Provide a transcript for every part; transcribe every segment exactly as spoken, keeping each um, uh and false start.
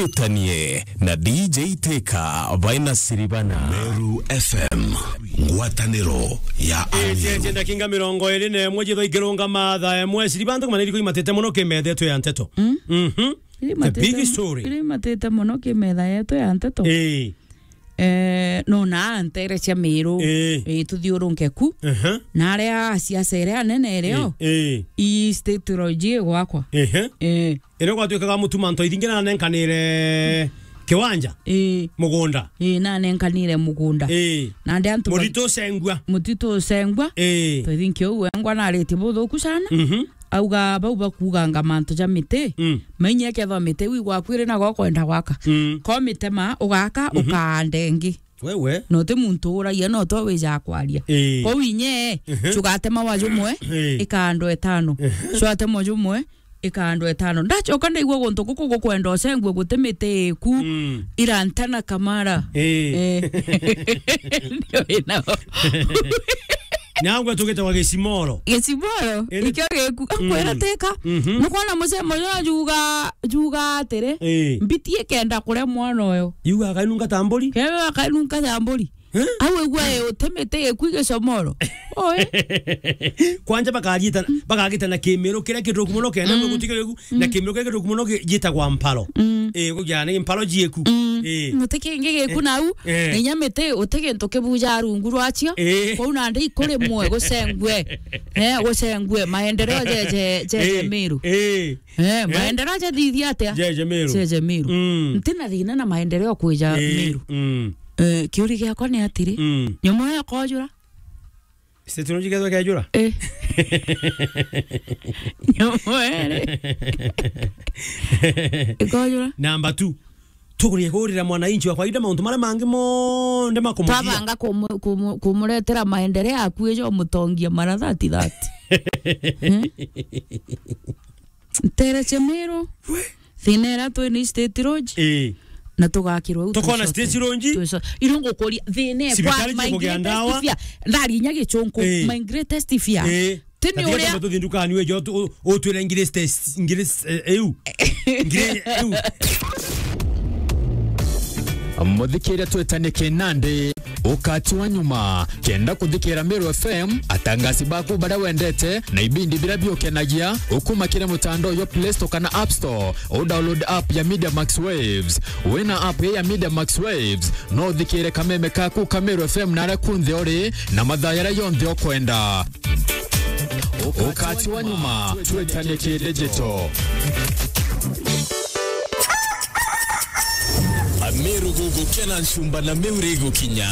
Utanie na D J Teka baina Siribana. Meru F M, ngwataniro ya Amiru. Itiete ndakinga mirongo iri na imwe jitho ikirunga mathaa imwe, Siribantu maniriko imatete muno kimethetwe ya nteto. Mm. Mhm. The big story. Iri imatete muno kimetha yetu ya nteto. Ii. Eh, no na ntere cia Miru. Ii. Ii, tuthiurunke ku. Aha. Na aria asiasa iria anene irio. Ii, ii. I state roji gwakwa. Ehe. Ii. Iria gwatuikaga mutu mantu ithingi na nenkanire kiwanja. Ii. Mugunda. Ii, na nenkanire mugunda. Ii. Na ndi antu ba- Mutitu ucengua. Mutitu ucengua. Ii. Twithinki uu wengwa na ariti buthuku sana. Mhm. Auga bau bakuuganga mantu ja miti, mm, mainye kethwa miti iu igwaku iri nago ukwenda gwaka. Mm. Ko mitema ugaka, mhm, ukaanda ingi. Wewe. Na uti muntu uragia, no to wijaa kwaria. Ii. Kou inye, mhm, cugatema wa jumwe, ii, ikaandwa itano. Mhm. Cuatema jumwe, ikaandwa itano. Ndacoka ndaigua guntu guku gukwenda ucengue guti miti iku, mm, irantana kamara. Ii. Eh. Ndio inao. Nangwa tugitagwa Gicimoro. Gicimoro, indi ikio giku, mm, akwira tika. Mhm. Nukwona mucemo uyu ajuga, juga atiri, ii, mbiti ikenda kuria mwana uyu. Yuga akainunga ta mburi? Kewe akainunga ta mburi. Eh? Au igua, eh, utemete giku Gicomoro. Oi. Kwanja bakagitana, bakagitana kimiru kiria kituku muno kenda, mm, gutikio giku, na, mm, kimiru kiria kituku muno gi-, gitagwa mparo. Mm. Eh, kugia ni mparo jieku. Mm. Eh. Muti kingi giku, eh, nau, eh, na inya miti uti gintu kibuja rungu rwacio. Eh. Kwou nandi ikurimwe gucengwe. Eh, gucengwe maendeleo jeje, jeje, eh, Miru. Eh. Eh, eh, maendeleo jathithia atia? Jeje Miru. Jeje Miru. Mm. Ntina thina na maendeleo kwija, eh, Miru. Mm. Eh, kiuri giakwa ni atiri, mm, nyomo ya kojura. State roji kethwa kejura? Eh. Nyomo ere. Ikojura? Number two. Tukurie kurira mwananchi wa kawaida mauntu maria mangi monthe makumujia. Twabanga kumu-, kumu-, kumuretera maendeleo akuija umutongia mara thirty thirty. Hmm? Ntere cia Miru. We. Thina iria twi ni state roji. Ii. Na tugakirwa u. Tukona twicote. State roji. Twico-, irio ngukuria thina kwa cibitari my cikugia greatest ndawa. Fear. Ndari inya Gichunku. Ii. My greatest fear. Ii. Tini uria. Tuthi ndukani we jo tu-, utwire ngiri state, ngiri, eh, eu. Ngiri eu. Muthikiria twetanie kinandi, ukati wa nyuma, kenda kuthikira Meru F M, atangasi baku baria wendete, na ibindi biria biukenagia, ukuma kiri mutandao jwa Play Store kana App Store, u download app ya Media Max Waves. Wina app ya Media Max Waves, no uthikire kameme kaku ka Meru F M naria kunthe uri, na mathaa jaria jonthe ukwenda. Ukati wa nyuma, twetanie ki digital. Ameru gugukena ncumba na Meru igukinya.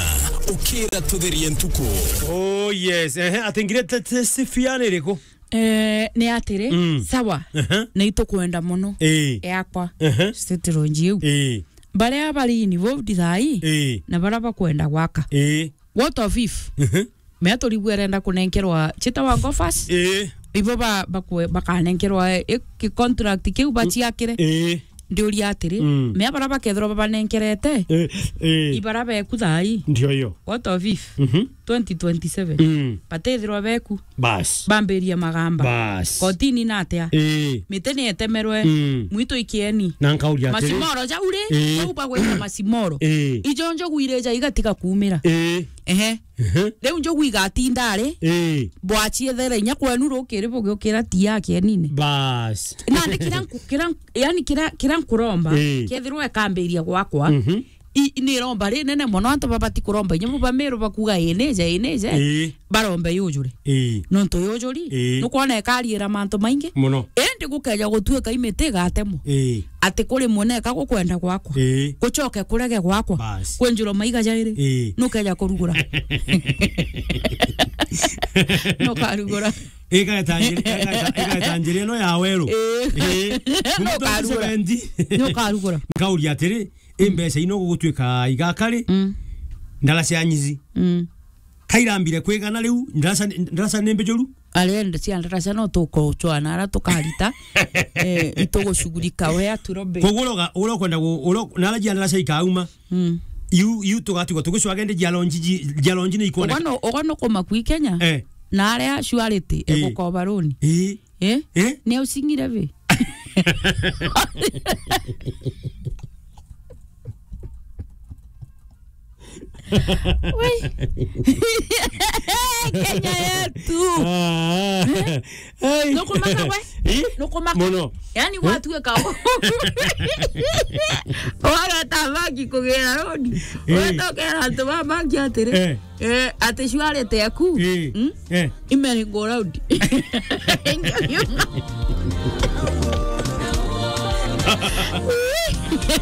Ukira tutherie ntuku. Oh yes, ehe, ati ngire te-, te-, sifiane iriku? Eh, ni atiri, mm, sawa, ehe, ni itukwenda muno, ii, yakwa, ehe, state roji iu. Ii. Baria bari involved thaa ii, ii, na baria bakwenda gwaka. Ii. What of if? Mhm. Mea turigwe arenda kunenkerwa chita wa ngofas. Ii. Ibo ba, bakwe-, bakanenkerwa, eh, ki contract kiu baciakire. Ii. Ndiuria atiri, mm, mea bara bakethirwa babanenkerete, ii, ii, ibara beku thaa ii. Ndio hiyo. What of if? Mhm. Twenty twenty-seven. Mm. Batethirwa beku. Bas. Bambirie magamba. Bas. Kotini na atia? Ii. Miti ni etemerwe. Mm. Mwitu ikieni. Na nkauria atiri. Macimoro jau ri, ii, jau bagwita macimoro. Ii. Ijo njogu irija igatiga kuumira. Ii. Ehe. Ehe. Riu njogu igatinda ari. Ii. Bwaciethere inya kwenu rukiri bugiukira ti ya kienine. Bas. Nandi kira nku-, kira nku-, yani kira, kira nkuromba, ii, kethirwa ikambiria gwakwa, mhm. I, ni iromba rinene mono, antu babati kuromba, inya bo ba Meru bakuga, "Ii nije, ii nije." Ii. Barombe yujure. Ii. Nontu yujuri, ii, nukwona ikariira mantu maingi. Muno. Indi gukeja gutuika imiti igatemwa. Ii. Ati kuri muneka gukwenda gwakwa. Ii. Gucoke kurege gwakwa. Bas. Kwenjurwa maiga jairi. Ii. Nukeja kurugura. Nukarugura. Igeta njiri, igeta, igeta njiri ino ya weru. Ii. Ii. Nukarugura. Kuma twenty seventy. Nukarugura. Nkauria atiri, i mbeca ino gugutuika igaka ri? Mm. Ndaraca ya nyizi. Mm. Kairambire kwigana riu, ndaraca, ndaraca ni mbijuru? Arenda cia ndaraca no tukucwana ara tukarita. Eh, itugucugurika we aturobe. Koguo uroga, urokwenda gu-, uro-, nara jia ndaraca ikauma. Mm. Iu, iu tugatigwa tugicwaga indi jia lonji ji-, jia lonji ni ikwoneka. Ugano, ugano kuma kwi Kenya. Eh. Na aria Surety, eh, egukoba runi. Eh. Eh? Eh? Ni ausingire vi? Wei. Kenya yetu. Ah. Hey. Nukumaka we? Eh? Nukumaka. Muno. Yani, eh? Watuika. Wageta bangi kugira road. Eh. Wetokera antu ba bangi atiri. Eh. Eh, ati shwari teku. Eh. Hmm? Eh. Imeri go road.